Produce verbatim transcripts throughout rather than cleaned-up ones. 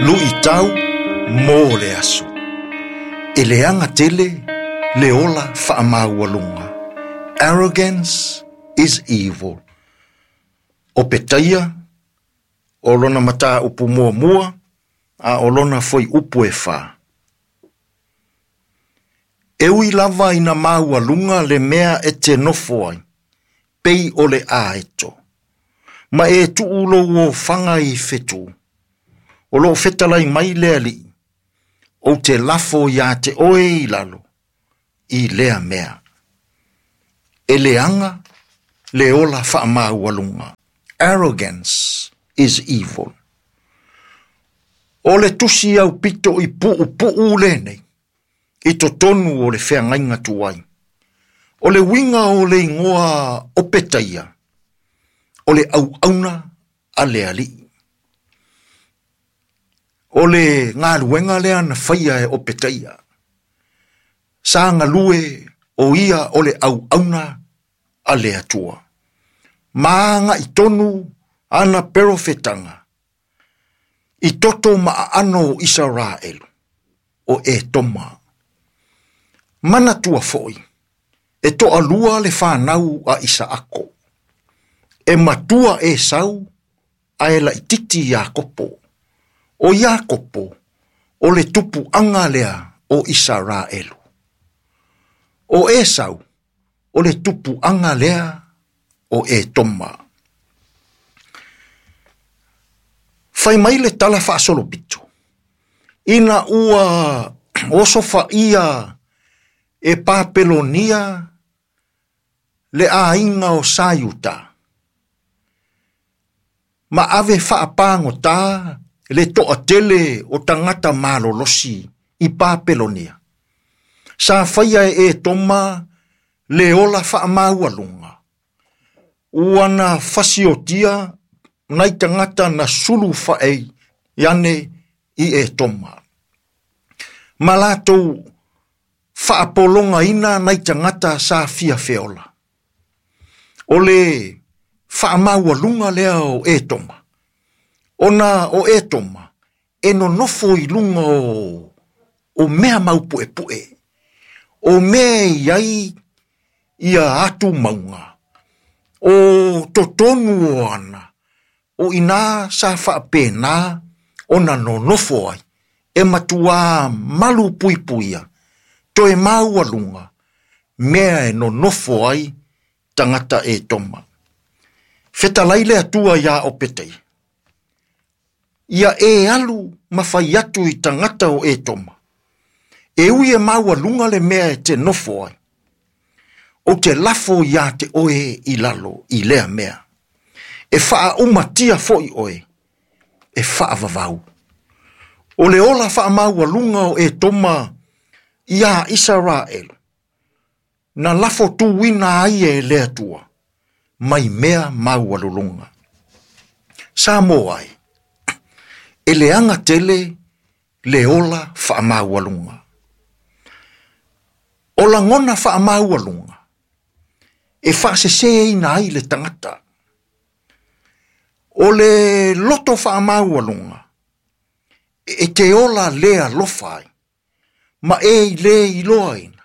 Luʻitau mo le aso. E leaga tele le ola faamaualuga. Arrogance is evil. O Petaia, o lona mataupu muamua, a o lona fuaiupu e fā. E ui lava ina maualuga le mea e te nofo ai, pei o le aeto. Ma e tuu lou ofaga i fetu. O loo fetalai mai le Alii, ou te lafo iā te oe i lalo, i lea mea. E leaga le ola faamaualuga. Arrogance is evil. O le tusi aupito i puupuu lenei, i totonu o le feagaiga tuai. O le uiga o le igoa o Petaia, o le auauna a le Alii. O le galuega lea na faia e o Petaia. Sa galue o ia o le auauna a le Atua. Ma agai tonu ana perofetaga i toto ma aano o Isaraelu, o Etoma. Manatua foi, e toalua le fanau a Isaako. E matua Esau ae laititi Iakopo. O Iakopo, o le tupuaga lea o Isaraelu. O Esau, o le tupuaga lea o Etoma. Fai mai le tala faasolopito. Ina ua osofaia e Papelonia le aiga o Saiuta. Ma ave faapagota le toatele o tagata malolosi i Papelonia. Sa faia e Etoma le ola faamaualuga. Ua na fasiotia nai tagata na sulu faei iane i Etoma. Ma latou faapologaina nai tagata sa fia feola. O le faamaualuga lea o Etoma. Ona o Etoma e nonofo i luga o, o mea maupuepue. O mea i ai ia atu mauga. O totonu o ana. O ina sa faapena ona nonofo ai. E matua malu puipuia. Toe maualuga mea e nonofo ai tagata Etoma. Fetalai le Atua ia o Petaia. Ia e alu ma fai atu i tagata o Etoma. E ui e maualuga le mea e te nofo ai. O te lafo ia te oe i lalo i lea mea. E faaumatia foi oe. E faavavau. O le ola faamaualuga o Etoma ia Isaraelu. Na lafo tuuina ai e le Atua. Mai mea maualuluga. Samoa ai. E leaga tele le ola faamaualuga. O lagona faamaualuga e faaseseina ai le tagata. O le loto faamaualuga e te ola le alofa ai, ma e i le iloaina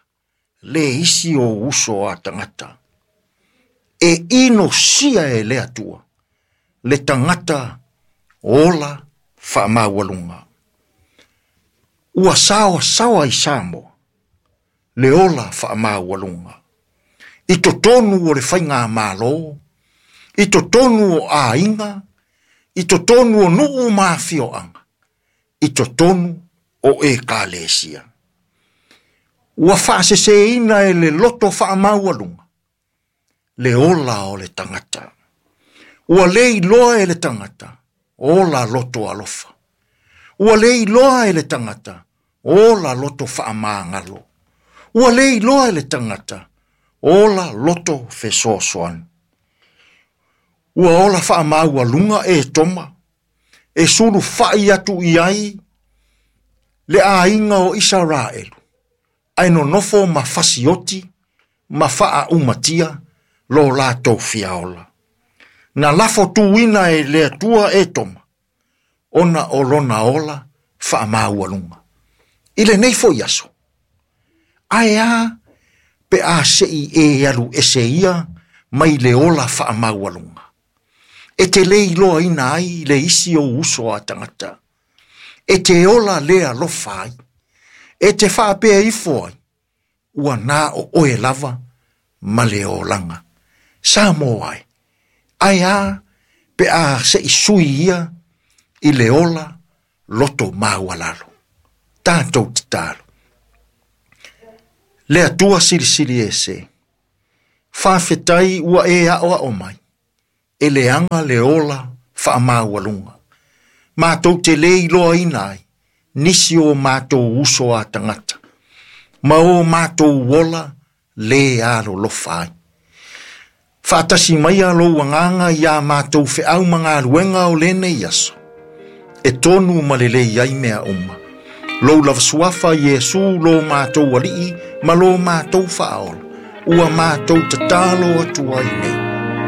le isi o uso a tagata. E inosia e le Atua le tagata ola faamaualuga. Ua saoasaoa i Samoa le ola faamaualuga. I totonu o le faigamalo, i totonu o aiga, i totonu o nuu ma afioaga, i totonu o ekalesia. Ua faaseseina e le loto faamaualuga le ola o le tagata. Ua le iloa e le tagata ola loto alofa. Ua le iloa e le tagata ola loto faamagalo. Ua le iloa e le tagata ola loto fesoasoani. Ua ola faamaualuga e Etoma, e sulufai atu i ai le aiga o Isaraelu, ae nonofo ma fasioti ma faaumatia lo latou fiaola. Na lafo tuuina e le Atua Etoma, ona o lona ola Faamaualuga. I lenei foi aso, ae a pe a sei e alu ese ia mai le ola faamaualuga. E te le iloaina ai le isi ou uso a tagata. E te ola le alofa ai. E te faapea ifo ai, ua na o oe lava ma le olaga. Samoa ai, ae a pe a sei sui ia i le ola loto maualalo. Tatou tatalo. Le Atua silisili ese, faafetai ua e aoao mai, e leaga le ola faamaualuga. Matou te le iloaina ai, nisi o matou uso a tagata, ma o matou ola le alolofa ai. Faatasi maia lou agaga ia matou feau ma galuega o lenei aso, e tonu ma lelei ai mea uma. Lou lava suafa Iesu lo matou alii ma lo matou faaola, ua matou tatalo atu ai nei.